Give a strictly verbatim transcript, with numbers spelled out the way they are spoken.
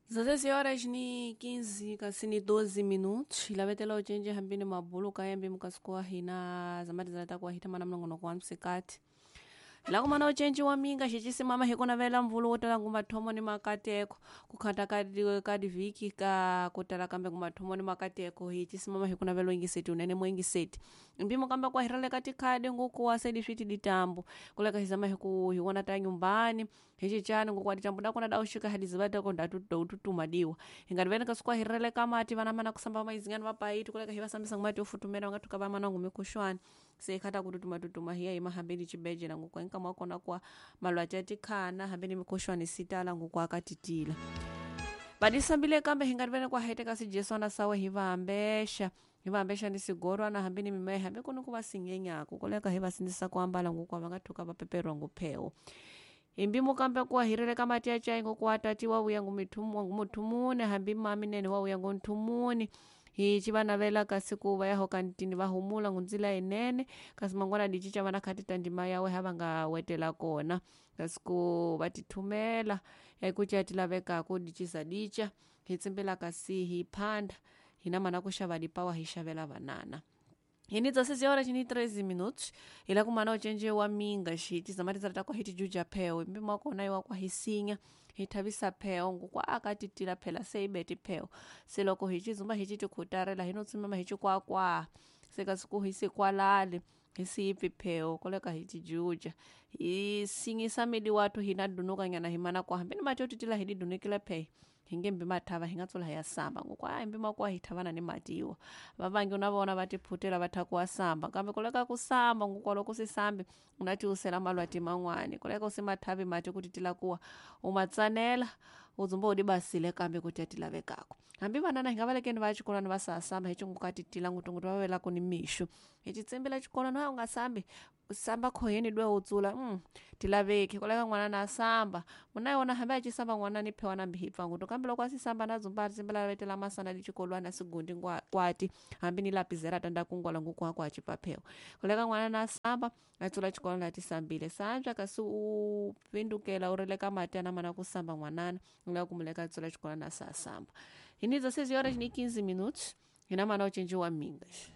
Dezesseis horas ni quinze kasi ni doze minutos ilavetela ucenje hambini mabulu kayambi mukasikuwa hina zamati zalata hita mana mnongono wa msikati lakumana ucenji wa minga xixisimama hikunavela mvulu wotala ngumathomo ni makateko kukhata kadi kadi viki ka kutala kambe ngumathomo ni makateko hichisimama hikunavela ingiseti unene mwengiseti mpimo kamba kwahirale katikhadi ngukuwa sedi switi ditambo kuleka hizama hiku hiwona ta nyumbani hichichani ngukuwa ditambo dakona daushika hadi zivatako ndatu diwa hingativene kasukwahirele kamati vana mana kusamba maizingani vapaiti kuleka hivasambisa ngumati ofutumela vangathuka vamana ngumikuxwani seikhata kututuma tutuma hiya ima hambeni cibejela ngukwa inkamwakona kwa malwati atikhana hambeni mikuxwani sitala ngukwa akatitila vadisambile kambe hingativene kwaheteka sijeswana sawe hivambexa hivambexa ni sigorwana hambeni mimaye hambi kuni kuva sinyenyaku koleka hivasindzisa kuambala ngukwa vangathuka vapeperwa ngupheo imbimo kambe kuwahirele kamati achai ngokuwatati wauya ngumithumune hambi mami nene wauya ngunthumuni hichi vanavela kasi kuva yaho kantini vahumula ngunzila inene kasi mangwana dichicha vanakhatita ndima yawe havangawetela kona kasi ku vatithumela yaikucha tilavekaku dichisa dicha hitsimbela kasi hiphanda hina mana kuxava dipawa hixavela vanana hini dezesseis horas ni treze minutos ila kumana ucenje wa minga xiti zamati zalata kwa hiti juja pheo mpimo wakona iwa kwa hisinya hithavisa pheo ngukwa akatitila phela seibeti pheo seloko hichizumba hichitikutarela hinotsimama hichikwakwa sekasiku hisikwalale hisiipfi pheo koleka hichijuja hisinyisa mili watu hinadunukanyana himana kwa hambeni mati otitila hididunikile phe hingembi mathava hingatsola hiyasamba ngokwa ayi mpimo kwa hithavana ni matiwa vavangi unavona vatiphutela vathakuwa samba kambe koleka kusamba ngokwa loko sisambi unatiusela malwati man'wani koleka usimathavi mati kutitila kuwa umatsanela udzumba udibasile kambe kuti atilavekako hambi vanana hingavalekeni vaya xikolwani va sasamba hichingukatitila ngutungutu vavelako ni mixo hichitsimbila xikolwani wa ungasambi samba khoheni dwe utsula mm, tilaveki koleka n'wana na samba munayona hambi acisamba n'wana ni phewa nambi hipfa ngutu kambe loko asisamba na dzumba atitsimbela vetela masana lichikolwani asigundi kwati hambi ni lapizera tanda kungwala nguku wako acipa phewa koleka n'wana na samba atsula xikolwani atisambile santswa kasi u pindukela u rileka mati ana mana kusamba n'wanana uleka kumuleka atsula xikolwani asasamba hini dezesseis horas ni quinze minutos hina mana ucenji wa mingas.